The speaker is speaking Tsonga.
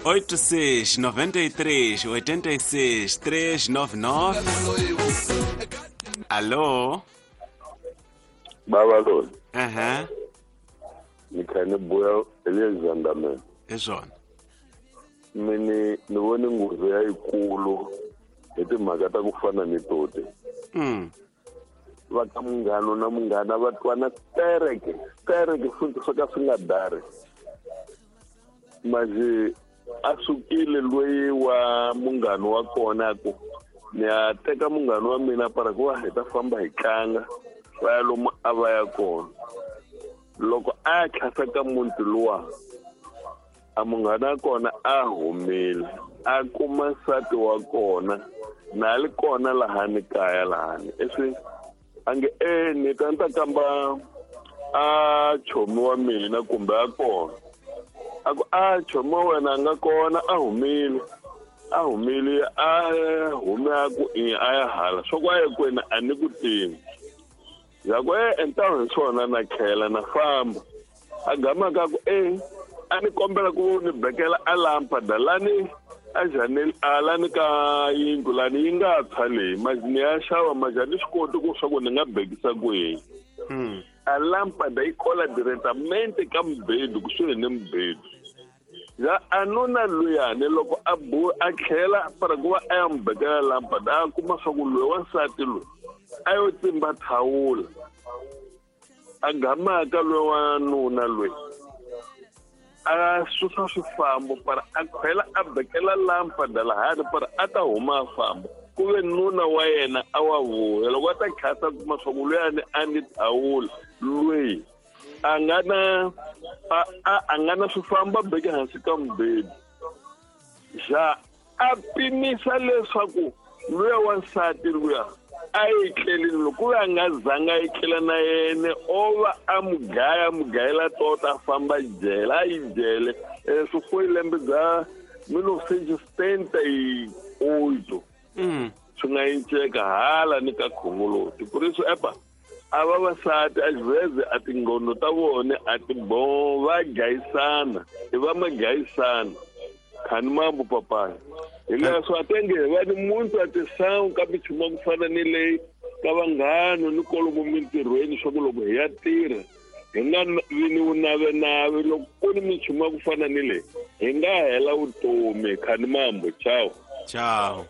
86 93 86 399. Allo? Baba loyi. Ehe. Ni kha ni buya hi le Zandamela. Hi swona. Mini ni vone nghozi ya yikulu hi timhaka ta ku fana ni toti. Va ka munghana na munghana va twana tereke tereke futhi swo ka swi nga dari. Manje a sukile loyi wa munghana wa kona ku ni ya teka munghana wa mina para ku va hi ta famba hi tlanga va ya lomu a va ya kona. Loko a ya tlhasa ka muti luwa a munghana wa kona a humile a kuma nsati wa kona na li kona lahani kaya lahani eswi a nge e ni ta ni ta kamba a chomi wa mina kumbe a kona a ku a chomi wa wena a nga kona a humile a humile a hume a ku i a ya hala swa ku a ye kwena a ni ku tivi ya ku e ntaho hi swona na khela na famba a gama ka ku e a ni kombela ku ni bekela a lampada lani a janel a lani ka yindlu lani yi nga tshwa leyi manje ni ya xava manje a ni swi koti ku swa ku ni nga bekisa kwihi. A lampada yi kola directamente ka mubedu kusuhi ni mubedu. Ya a nuna luyani loko a bu a tlhela para ku va a ya n'wi bekela lampada a kuma swa ku loyi wansati loyi a yo tsimba thawula a gamaka loyi wa nuna loyi a susa swifambo para a khwela a bekela lampada lahani para a ta huma a famba ku ve nuna wa yena a wa vuya loko a ta khasa kuma swa ku luyani a ni thawula loyi a nga na a nga na swifambo a beke hansi ka mubedu ja a pimisa leswaku luya wansati luya a yi tlelini loko ku ve a nga zanga a yi tlela na yena o va a mugaya mugayela tota a famba jele a yi jele swi foi lembe bya 1978 swi nga yinceka hala ni ka khongoloti ku ri swi epa a vavasati a xivheze a tinghondo ta vona a ti bo va gayisana i va magayisana khani mambo papaya hi leswo a tenge hi va ni muntu a tisangu ka minchumu ya ku fana ni leyi ka vanghana ni kolomo mintirhweni swa ku loko hi ya tirha hi nga vi ni vunavenave loko ku ni minchumu ya ku fana ni leyi hi nga hela vutomi khani mambo ciao ciao.